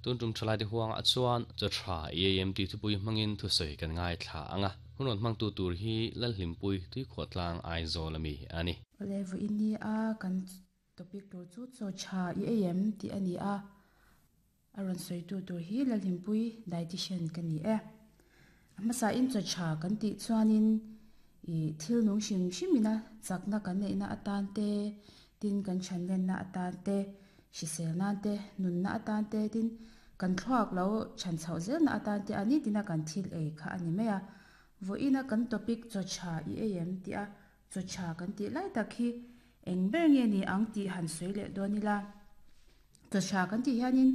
Tun tum thalaite huangah chuan chaw tha i ei em tih thupui hmangin thusawi kan ngaithla ang a. Hun rawn hmangtu tur hi Lalhlimpui Tuikhuahtlang Aizawl ami a ni. Awle vawiin ni a kan topic tur chu chaw tha i ei em tih a ni a. A rawn sawitu tur hi Lalhlimpui dietitian ka ni e. A hmasa in chaw tha kan tih chuanin ih thil nung hrim hrim ina chakna kan neihna atan te, tin kan chhanlenna atan te, hrisel nan te, nunna atan te, tin kan thluak lo chhan chhoh zelna atan te a nitin a kan thil ei kha a ni mai a. Vawiin a kan topic chaw tha i ei em tih a chaw tha kan tih lai tak hi eng ber nge ni ang tih han sawi leh dawn ila. Chaw tha kan tih hianin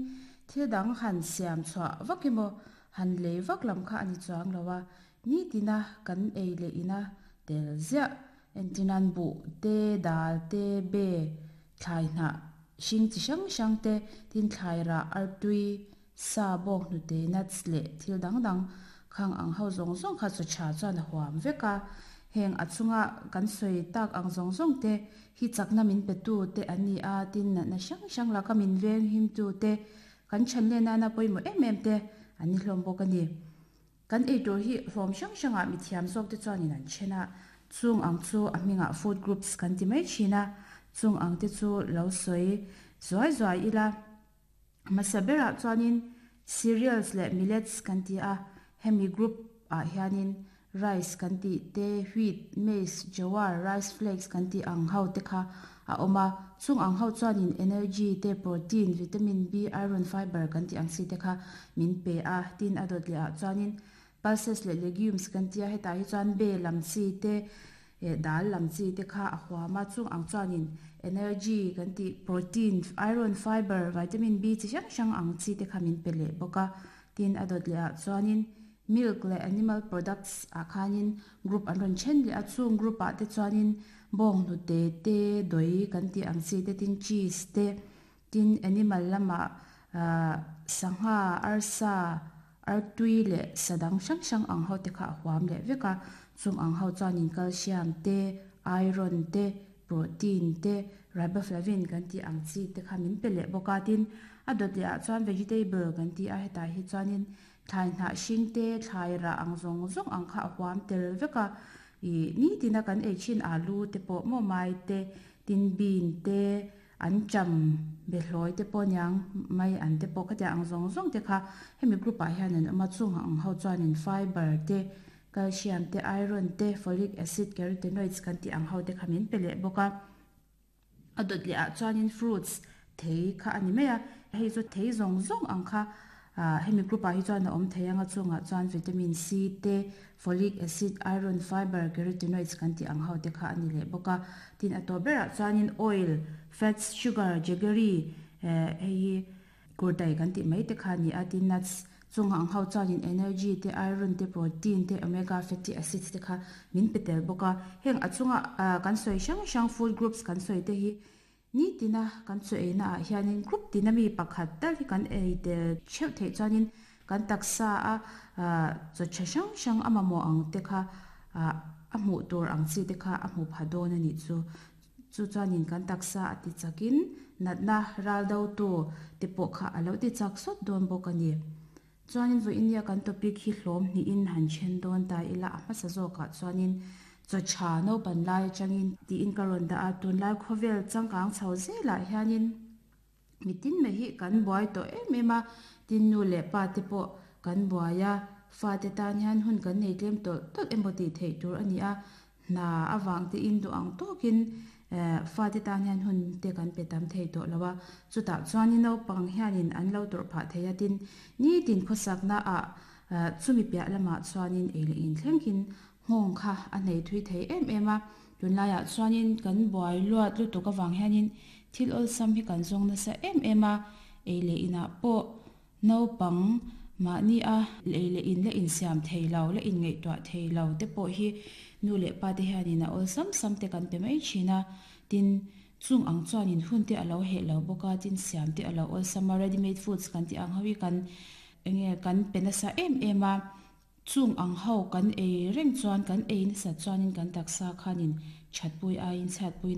thil dang han siam chhuah vak emaw han lei vak lam kha a ni chuang lo a, nitina kan ei leh ina tel ziah entirnan buh te, dal te, be, thlai hnah hring chi hrang hrang te, tin thlai rah, artui, sa, bawk hnute, nuts leh thil dang dang khang ang ho zawng zawng kha chaw tha chuan a huam vek a. Heng a chunga kan sawi tak ang zawng zawng te hi chakna min pe tu te an ni a, tin natna hrang hrang laka min veng him tu te, kan chhan leh nana pawimawh em em te an ni hlawm bawk a ni. Kan ei tur hi hlawm hrang hrangah mithiam zawk te chuanin an then a, chung ang chu a hmingah food groups kan ti mai thin a, chung ang te chu lo sawi zuai zuai ila. Hmasa berah chuanin cereals leh millets kan ti a, hemi group ah hianin rice kan tih te, wheat, maize, jowar, rice flakes kan tih ang ho te kha a awm a, chung ang ho chuanin energy te, protein, vitamin B, iron, fiber kan tih ang chi te kha min pe a, tin a dawt leh ah chuanin pulses leh legumes kan ti a, hetah hi chuan be lam chi te, Eh dal lam chi te kha a huam a, chung ang chuanin energy kan tih protein, iron, fiber, vitamin B chi hrang hrang ang chi te kha min pe leh bawk a. Tin a dawt leh ah chuanin milk leh animal products ah khanin group an rawn then leh a, chung group ah te chuanin bawng hnute te, dawi kan tih ang chi te tin cheese te, Tin, animal lamah sangha, arsa, artui leh sa dang hrang hrang ang ho te kha a huam leh vek a. Chung ang ho chuanin calcium te, iron te, protein te, riboflavin kan tih ang chi te kha min pe leh bawk a. Tin, a dawt leh ah chuan vegetable kan tih a, hetah hi chuanin thlai hnah hring te, thlai rah ang zawng zawng ang kha a huam tel vek a. Ih nitina kan ei thin alu te pawh maw mai te, tin bean te, An cham be hlawi te pawh niang mai an te pawh khatiang ang zawng zawng te kha hemi group ah hian an awm a, chung ang ho chuanin fiber te, calcium te, iron te, folic acid, carotenoids kan tih ang ho te kha min pe leh bawk a. A dawt leh ah chuanin fruits thei kha a ni mai a, hei chu thei zawng zawng ang kha Ah hemi group ah hi chuan a awm thei ang a chungah chuan vitamin C te, folic acid, iron, fiber, carotenoids kan tih ang ho te kha a ni leh bawk a. Tin a tawp berah chuanin oil, fats, sugar, jaggery eh hei hi kurtai kan tih mai te kha a ni a. Tin nuts chung ang ho chuanin energy te, iron te, protein te, omega fatty acids te kha min pe tel bawk a. Heng a chunga ah kan sawi hrang hrang food groups kan sawi te hi Nitina kan chu eina ah hianin group tina mi pakhat tal hi kan ei tel theuh theih chuanin kan taksa a chaw tha hrang hrang a mamawh ang te kha a hmuh tur ang chi te kha a hmu pha dawn a nih chu. Chu chuanin kan taksa a ti chakin natna ral do tu te pawh kha a lo ti chak sawt dawn bawk a ni. Chuanin vawiin nia kan topic hi hlawm hnihin han then dawn ta ila a hmasa zawkah chuanin chaw tha naupan lai atangin tiin ka rawn dah a, tunlai khawvel changkang chho zelah hianin mitin mai hi kan buai tawh em em a, tin nu leh pa te pawh kan buai a, fate tan hian hun kan nei tlem tawlh tawlh emaw tih theih tur a ni a, Hna avang te in duh ang tawkin fate tan hian hun te kan pe tam thei tawh lo a, chutah chuanin naupang hianin an lo tawrh phah thei a, tin nitin khawsakna ah chumi piah lamah chuanin ei leh in thlengin nghawng kha a nei thui thei em em a, tunlaiah chuanin kan buai luat lutuk avang hianin thil awlsam hi kan zawng nasa em em a, ei leh inah pawh Naupang mahni a lei leh in la insiam thei lo, la inngaihtuah thei lo te pawh hi nu leh pa te hianin a awlsam sam te kan pe mai thin a. Tin, chung ang chuanin hun te a lo heh lo bawk a, tin siam te a lo awlsam a, ready made foods kan tih ang ho hi kan enge kan pe nasa em em a. Chung ang ho kan ei reng chuan kan ei nasat chuanin kan taksa khanin thatpui aiin chhiatpui.